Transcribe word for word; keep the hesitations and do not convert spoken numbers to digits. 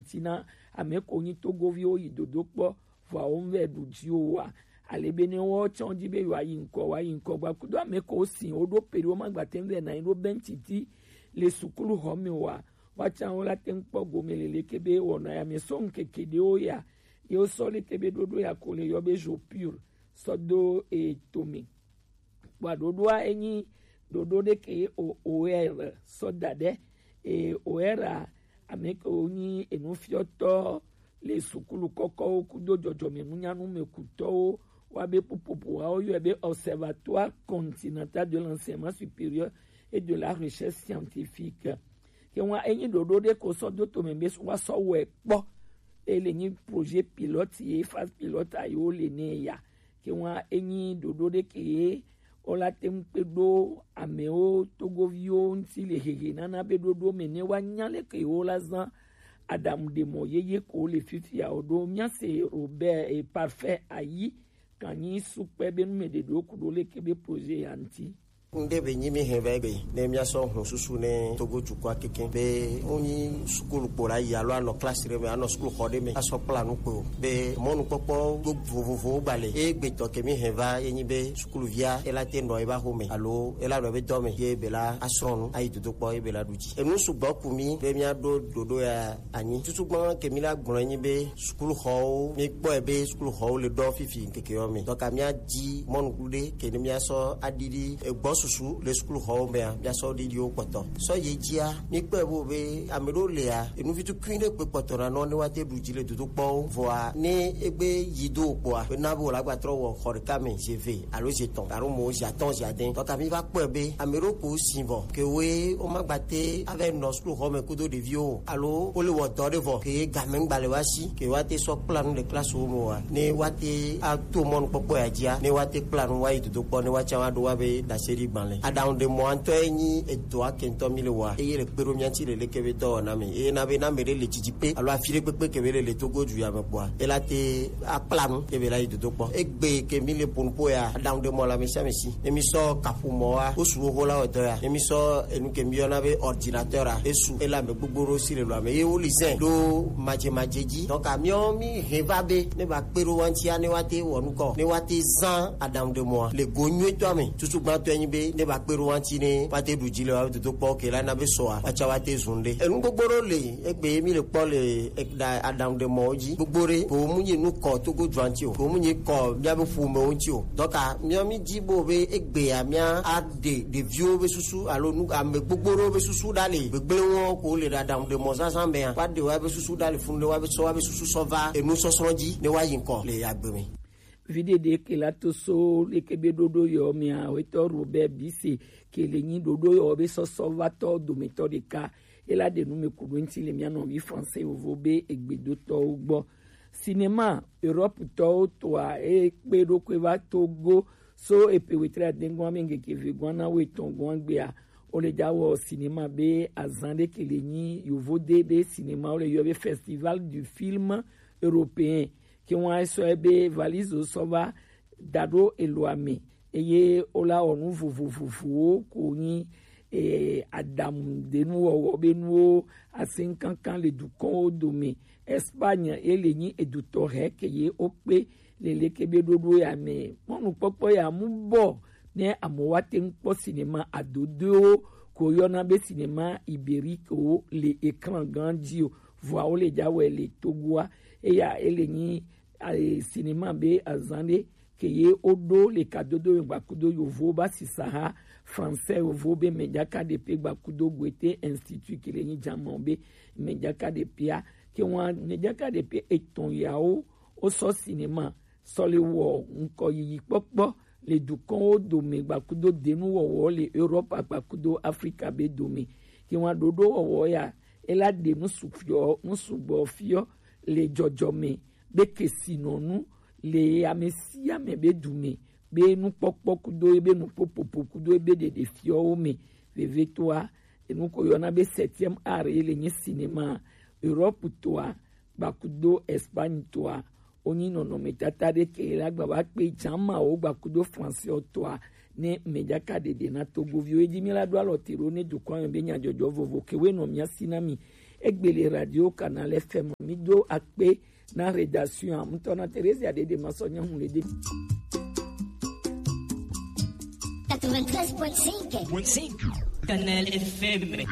Tina ame ko nyi togoviwo yi dodo kpɔ, vɔa wo ŋvɛ ɖu ji o wa. Ale be ne wo tsɔn ji be yewoa yi ŋkɔ, wa yi ŋkɔ gba kudo ame ko si wo ɖo pe ɖe wo ma gba te ŋvɛ na yi ɖo bɛntiti le sukulu xɔ me o wa. Wa tsã wo la te ŋ kpɔ gome lele ke be wɔna ya me sɔ ŋkeke ɖewo ya, ye wo sɔ le ke be ɖoɖo ya ko le yɔ be jour pur sɔ do e to me. Kpɔa ɖoɖoa enyi ɖoɖo ɖe ke o oer sɔ da ɖe e oer a ame ke wo nyi enufiɔtɔ le sukulu kɔkɔwo kudo dzɔdzɔme nunyanu me kutɔwo wa be pupopo wa wo yɔe be Observatoire Continental de l'Enseignement Supérieur et de la Recherche Scientifique. Ke wa enyi ɖoɖo ɖe ko sɔ do to me be wa sɔ wɛ kpɔ. E le nyi projet pilote ye phase pilote a yo le ne ya. Ke wa enyi ɖoɖo ɖe ke ye wo la te ŋu kpe ɖo amewo togoviwo ŋuti le hehe nana be ɖoɖo me ne wa nya le ke wo la zã aɖaŋu ɖe mɔ yeye ko le fifia o ɖo mía se Robert e Parfait ayi kan nyi sukpɛ be nu me ɖe ɖo ku ɖo le ke be projet ya ŋuti. Ŋɖe be nyi mi hɛn va egbe ne mía sɔ hun susu ne Togo dukɔa keke be wo nyi sukulu kpo la yi alo anɔ klasi ɖe me, anɔ sukulu xɔ ɖe me, asɔ kpla nu kpo be mɔnukpɔkpɔ vovovowo gba le. Egbetɔ ke mi hɛn va ye nyi be sukuluvia e la te nɔ eba xo me alo e la nɔ ebe dɔ me ye be la asrɔ̃ nu ayi dodo kpɔ ye be la ɖu dzi. Enu sugbɔ ku mi be mía ɖo ɖoɖo ya anyi. Tutugbã ke mi la gblɔ nyi be sukuluxɔwo, mi kpɔe be sukuluxɔwo le ɖɔ fifi ŋkeke yɔ me. Donc mía di mɔnukulu ɖe ke ne mía sɔ aɖiɖi egbɔ susu le sukuluxɔwo mea, mía sɔ ɖiɖiwo kpɔtɔ. Sɔ ye dzia, mi kpɔe bo be ame ɖewo lea, enuvi tukui ɖe kpe kpɔtɔ na nɔ ne wa te ɖu dzi le dodokpɔwo. Vɔa ne egbe yi do kpɔa, be na be wòle agba trɔ wɔ xɔ ɖeka me, zi eve alo zi etɔ̃ alo mo zi atɔ̃ zi ade. Donc mi va kpɔe be ame ɖewo ko si vɔ ke woe wo ma gba te ava nɔ sukuluxɔ me kudo ɖeviwo o, alo wo le wɔ dɔ ɖe vɔ ke game ŋgba le wa si ke wa te sɔ kpla nu le klasiwo me wa ne wa te ato mɔnukpɔkpɔ ya dzia ne wa te kpla nu wa yi dodo kpɔ ne wa tsã wa ɖo wa be ɖase ɖi gbalẽ. Aɖaŋu ɖe mɔ ŋutɔ ye nyi edɔa ke ŋutɔ mi le wa eye le kpe ɖo mía ŋuti le leke be dɔwɔna me eye na be na me ɖe le dzidzi pe alo afi ɖe kpekpe ke be le le Togo du ya me kpɔa e la te akpla nu ke be la yi dodo kpɔ. Egbe ke mi le ƒo nuƒo ya, aɖaŋu ɖe mɔ le ame sia ame si. Ne mi sɔ kaƒomɔ wa, wo su xoxo la wɔ dɔ ya. Ne mi sɔ enu ke mi yɔna be ordinateur a, esu ele ame gbogbo ɖewo si le lɔ ame ye wo li zɛ ɖo madzemadze dzi. Donc miɔ mi hɛn va be ne ba kpe ɖo wa ŋutia ne wa te wɔ nukɔ, ne wa te zã aɖaŋu ɖe mɔa le go nyuitɔ me. Tutugbãtɔ nyi be ne ba kpe ɖo wa ŋuti ne wa te ɖu dzi le wa dodo kpɔ ke la na be sɔa wa tsa wa te zun ɖe. Enu gbogbo ɖewo le egbe ye mi le kpɔ le e-, ɖa-, aɖaŋu ɖe mɔwo dzi. Gbogbo ɖe ko mu nyi nu kɔ Togo dua ŋuti o, ko mu nyi kɔ míabe ƒomewo ŋuti o. Donc miɔ mi di bo be egbea mía aɖe ɖeviwo be susu alo nu ame gbogbo ɖewo be susu ɖa le gbegblẽ wɔn ko le ɖaɖaŋu ɖe mɔ zazã mea, wa ɖe wa be susu ɖa le funu ɖe wa be sɔ wa be susu sɔ va enu sɔsrɔ̃ dzi ne wa yi ŋkɔ le agbe me. Viɖe ɖe ke la to so leke be ɖoɖo yɔ mea wetɔ Robert Bise ke le nyi ɖoɖo yɔ be sɔsɔ va tɔ dometɔ ɖeka. Ela ɖe nu me ku ɖo ŋuti le mía nɔvi français yovo be egbedotɔwo gbɔ. Cinéma Europe tɔwo toa e kpe ɖo kue va Togo so epe wetre adengoa me ŋkeke ve goa na wo etɔn goa gbea. Wo le ja wɔ cinéma be azan ɖe ke le nyi yovo de be cinéma wo le yɔ be Festival du Film Européen. Ke ŋua esɔ ebe valise sɔ va da ɖo eloa me eye wola wɔ nu vovovovowo ko nyi e, aɖaŋuɖenuwɔwɔ be nuwo asi ŋkankan le dukɔwo dome. Espagne ye le nyi edutɔ hɛ ke ye wokpe le leke be ɖoɖo ya me. Mɔnukpɔkpɔ ya mu bɔ ne amewo wa te ŋu kpɔ sinema adodoewo ko yɔna be sinema iberique wo le ekran gã dzi o. Vɔa wo le ja wɔe le Togoa. Eya ele nyi ae, sinema be azan ɖe ke ye woɖo le kadodo yogba kudo yovo ba sisa ha français yovo be mejaka ɖepe gba kudo Goethe Institut ke le nyi jamɔ be mejaka ɖepea ke wa mejaka ɖepe etɔn yawo wosɔ sinema sɔ le wɔ ŋkɔ yiyi kpɔkpɔ le dukɔnwo dome gba kudo denuwɔwɔ le Europe gba kudo Afrika be dome. Ke wa ɖoɖo wɔwɔ ya ela ɖe nusu fiɔ nusu gbɔ fiɔ le dzɔdzɔme be kesinɔnu le ame sia ame be dume be nukpɔkpɔ kudo ebe nuƒoƒoƒo kudo ebe ɖeɖe fiɔwo me. Vevetoa enu ko yɔna be septième art ye le nyi sinema Europe toa gba kudo Espagne toa wonyi nɔnɔmetata ɖe ke la gba va kpe jamawo gba kudo français toa ne mejaka ɖeɖe na Togoviwo. Edi mi la ɖo alɔ te ɖo ne dukɔ me be nyadzɔdzɔ vovo ke we nɔ mia si na mi Egbele Radio Canal F M, mi do akpe na rédaction am. Ŋutɔ na Theresia Dede Masɔ Nyahun le de. Quatre-vingt-treize point cinq. Canal F M.